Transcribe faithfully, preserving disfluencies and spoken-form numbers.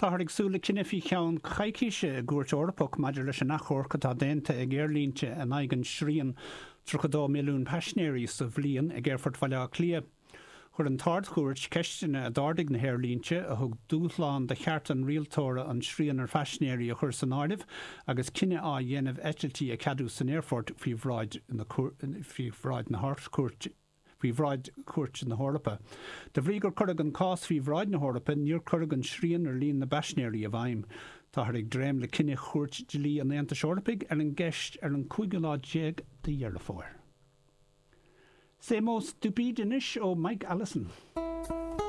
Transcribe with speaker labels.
Speaker 1: Táthar ag súil le cinneadh faoi cheann coicíse i gCúirt Eorpach maidir leis an achomharc atá déanta ag aerlínte in aghaidh an srian tríocha dó milliún paisinéirí sa bhliain ag Aerfort Bhaile Átha Cliath. Chuir an tArd-Chúirt ceisteanna a d'ardaigh na haerlínte a thug dúshlán do cheart an rialtóra an srian ar phaisinéirí a chur san áireamh agus cinneadh á dhéanamh eitiltí a cheadú san aerfort faoi bhráid na faoi bhráid na hArdchúirte. faoi bhráid Chúirt na hEorpa. De bhrí gur cuireadh an cás faoi bhráid na hEorpa, níor cuireadh an srian ar líon na bpaisinéirí i bhfeidhm. Táthar ag dréim le cinneadh Chúirt Dlí an Aontais Eorpaigh ar an gceist ar an cúigiú lá déag de Dheireadh Fómhair. Same Old Stupid anois ó Mike Allison.